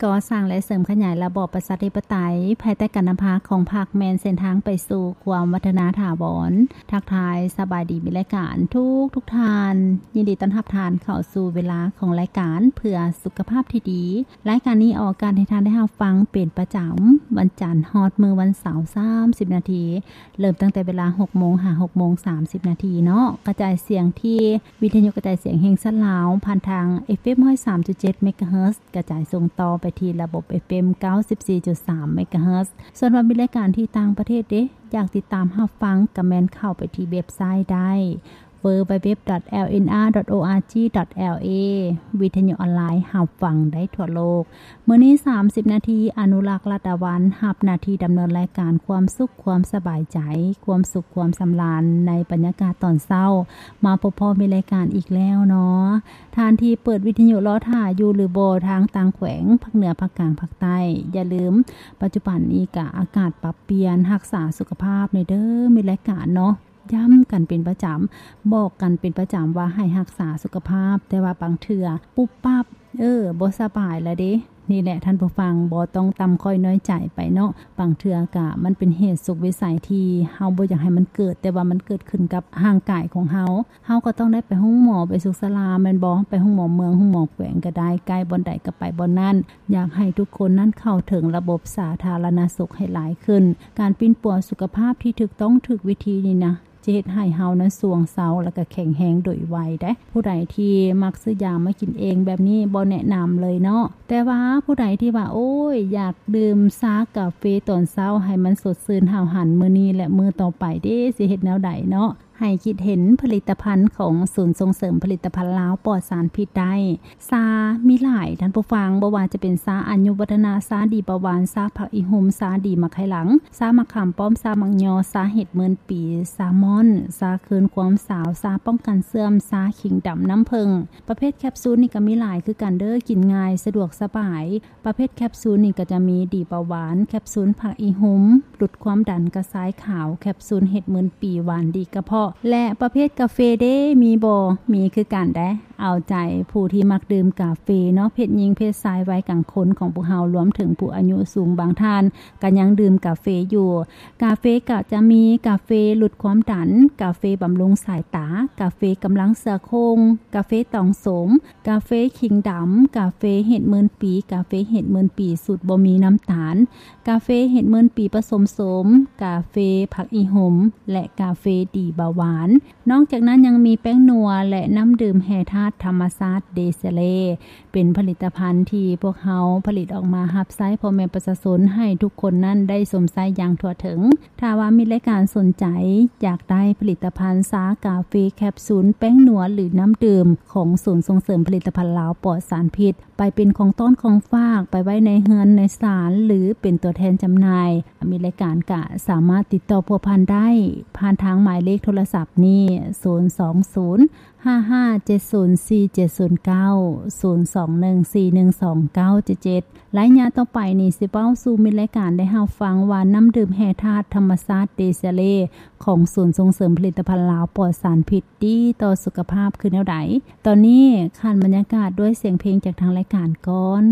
ກໍ່ສ້າງ ແລະ ເສີມຂະຫຍາຍລະບອບປະຊາທິປະໄຕ ພາຍໃຕ້ການນຳພາຂອງພັກ ແມ່ນເສັ້ນທາງໄປສູ່ຄວາມວັດທະນາຖາວອນ. ທັກທາຍສະບາຍດີ ມິດລາຍການທຸກໆທ່ານ, ຍິນດີຕ້ອນຮັບທ່ານເຂົ້າສູ່ເວລາຂອງລາຍການເພື່ອສຸຂະພາບທີ່ດີ. ລາຍການນີ້ອອກອາກາດໃຫ້ທ່ານໄດ້ຮັບຟັງເປັນປະຈຳວັນຈັນຮອດມື້ວັນເສົາ ສາມສິບນາທີ, ເລີ່ມຕັ້ງແຕ່ເວລາຫົກໂມງຫາຫົກໂມງສາມສິບນາທີເນາະ. ກະຈາຍສຽງທີ່ວິທະຍຸກະຈາຍສຽງແຫ່ງຊາດລາວ ຜ່ານທາງ ເອັຟເອັມ ຮ້ອຍສາມຈຸດເຈັດ ເມກາເຮີດ, ກະຈາຍສົ່ງຕໍ່ໄປທີ່ລະບົບ ເອັຟເອັມ ເກົ້າສິບສີ່ຈຸດສາມ ເມກາເຮີດ. ສ່ວນວ່າມີລາຍການທີ່ຕ່າງປະເທດເດ ຢາກຕິດຕາມຮັບຟັງ ກະແມ່ນເຂົ້າໄປທີ່ເວັບໄຊໄດ້ www.lnr.org.la ວິທະຍຸອອນລາຍຮັບຟັງໄດ້ທົ່ວໂລກ. ມື້ນີ້ສາມສິບນາທີ ອະນຸລັກ ລັດດາວັນ ຮັບໜ້າທີ່ດຳເນີນລາຍການຄວາມສຸກຄວາມສະບາຍໃຈ ຄວາມສຸກຄວາມສຳລານໃນບັນຍາກາດຕອນເຊົ້າ. ມາພົບພໍ້ມີລາຍການອີກແລ້ວເນາະ. ທ່ານທີ່ເປີດວິທະຍຸລໍຖ້າຢູ່ຫຼືບໍ່ ທາງຕ່າງແຂວງ ພາກເໜືອ ພາກກາງ ພາກໃຕ້ ຢ່າລືມ ປັດຈຸບັນນີ້ກະອາກາດປັບປ່ຽນ ຮັກສາສຸຂະພາບແດ່ເດີ ມີລາຍການເນາະ. ຢ້ຳກັນເປັນປະຈຳ ບອກກັນເປັນປະຈຳວ່າໃຫ້ຮັກສາສຸຂະພາບ, ແຕ່ວ່າບາງເທື່ອປຸບປັບ ເອີ ບໍ່ສະບາຍລະເດ. ນີ້ແຫຼະທ່ານຜູ້ຟັງ ບໍ່ຕ້ອງຕ່ຳຂ້ອຍນ້ອຍໃຈໄປເນາະ. ບາງເທື່ອກະມັນເປັນເຫດສຸດວິໄສທີ່ເຮົາບໍ່ຢາກໃຫ້ມັນເກີດ, ແຕ່ວ່າມັນເກີດຂຶ້ນກັບຮ່າງກາຍຂອງເຮົາ. ເຮົາກໍຕ້ອງໄດ້ໄປໂຮງໝໍ ໄປສຸກສາລາແມ່ນບໍ່? ໄປໂຮງໝໍເມືອງ ໂຮງໝໍແຂວງກໍໄດ້, ໃກ້ບ່ອນໃດກໍໄປບ່ອນນັ້ນ. ຢາກໃຫ້ທຸກຄົນນັ້ນເຂົ້າເຖິງລະບົບສາທາລະນະສຸກໃຫ້ຫຼາຍຂຶ້ນ. ການປິ່ນປົວສຸຂະພາບທີ່ຖືກຕ້ອງຖືກວິທີນີ້ນະ ຈະເຮັດໃຫ້ເຮົານັ້ນຊ່ວງເຊົາ ແລະ ກະແຂງແຮງໂດຍໄວເດ້. ຜູ້ໃດທີ່ມັກຊື້ຢາມາກິນເອງແບບນີ້ ບໍ່ແນະນຳເລີຍເນາະ. ແຕ່ວ່າຜູ້ໃດທີ່ວ່າ ໂອ້ຍ ຢາກດື່ມຊາກາເຟຕອນເຊົ້າໃຫ້ມັນສົດຊື່ນຫ້າວຫັນ ມື້ນີ້ ແລະ ມື້ຕໍ່ໄປເດ ຊິເຮັດແນວໃດເນາະ? ໃຫ້ຄິດເຫັນຜະລິດຕະພັນຂອງສູນສົ່ງເສີມຜະລິດຕະພັນລາວປອດສານພິດໄດ້. ຊາມີຫຼາຍທ່ານຜູ້ຟັງ, ບໍ່ວ່າຈະເປັນຊາອາຍຸວັດທະນະ, ຊາດີປະຫວານ, ຊາຜັກອີ່ຫຸ່ມ, ຊາດີໝາກໄຄຫຼັງ, ຊາໝາກຂາມປ້ອມ, ຊາໝາກຍໍ, ຊາເຫັດໝື່ນປີ, ຊາມ່ອນ, ຊາຄືນຄວາມສາວ, ຊາປ້ອງກັນເສື່ອມ, ຊາຂີງດຳນ້ຳເຜິ້ງ. ປະເພດແຄບຊູນນີ້ກໍມີຫຼາຍຄືກັນເດີ້, ກິນງ່າຍ, ສະດວກສະບາຍ. ປະເພດແຄບຊູນນີ້ກໍຈະມີດີປະຫວານ, ແຄບຊູນຜັກອີ່ຫຸ່ມ, ຫຼຸດຄວາມດັນ, ກະຊາຍຂາວ, ແຄບຊູນເຫັດໝື່ນປີ, ຫວານດີກະເພາະ. ແລະ ປະເພດກາເຟເດ ມີບໍ່? ມີຄືກັນເດ້. ເອົາໃຈຜູ້ທີ່ມັກດື່ມກາເຟເນາະ, ເພດຍິງເພດຊາຍ ໄວກາງຄົນຂອງພວກເຮົາ ລວມເຖິງຜູ້ອາຍຸສູງບາງທ່ານກໍຍັງດື່ມກາເຟຢູ່. ກາເຟກໍຈະມີກາເຟຫຼຸດຄວາມດັນ, ກາເຟບຳລຸງສາຍຕາ, ກາເຟກຳລັງເສື້ອໂຄ່ງ, ກາເຟຕອງໂສມ, ກາເຟຂີງດຳ, ກາເຟເຫັດໝື່ນປີ, ກາເຟເຫັດໝື່ນປີສູດບໍ່ມີນ້ຳຕານ, ກາເຟເຫັດໝື່ນປີປະສົມໂສມ, ກາເຟຜັກອີ່ຫຸ່ມ ແລະ ກາເຟດີເບົາຫວານ. ນອກຈາກນັ້ນຍັງມີແປ້ງນົວ ແລະ ນ້ຳດື່ມແຮ່ທາດທຳມະຊາດເດເຊເລ ເປັນຜະລິດຕະພັນທີ່ພວກເຮົາຜະລິດອອກມາຮັບໃຊ້ພໍ່ແມ່ປະຊາຊົນໃຫ້ທຸກຄົນນັ້ນໄດ້ຊົມໃຊ້ຢ່າງທົ່ວເຖິງ. ຖ້າວ່າມີລາຍການສົນໃຈຢາກໄດ້ຜະລິດຕະພັນຊາກາເຟແຄບຊູນ ແປ້ງນົວ ຫຼື ນ້ຳດື່ມຂອງສູນສົ່ງເສີມຜະລິດຕະພັນລາວປອດສານພິດ ໄປເປັນຂອງຕ້ອນຂອງຝາກ ໄປໄວ້ໃນເຮືອນໃນຊານ ຫຼື ເປັນຕົວແທນຈຳໜ່າຍ, ມີລາຍການກະສາມາດຕິດຕໍ່ພົວພັນໄດ້ ຜ່ານທາງໝາຍເລກໂທລະສັບນີ້ ສູນສອງສູນ ຫ້າຫ້າເຈັດສູນສີ່ເຈັດສູນເກົ້າ ສູນສອງໜຶ່ງສີ່ໜຶ່ງສອງເກົ້າເຈັດເຈັດ. ໄລຍະຕໍ່ໄປນີ້ ຊິເວົ້າສູ່ມິດລາຍການໄດ້ຮັບຟັງວ່າ ນ້ຳດື່ມແຮ່ທາດທຳມະຊາດເດເຊເລ ຂອງສູນສົ່ງເສີມຜະລິດຕະພັນລາວປອດສານພິດ ດີຕໍ່ສຸຂະພາບຄືແນວໃດ. ຕອນນີ້ຂັນບັນຍາກາດດ້ວຍສຽງເພງຈາກທາງລາຍການກ່ອນ.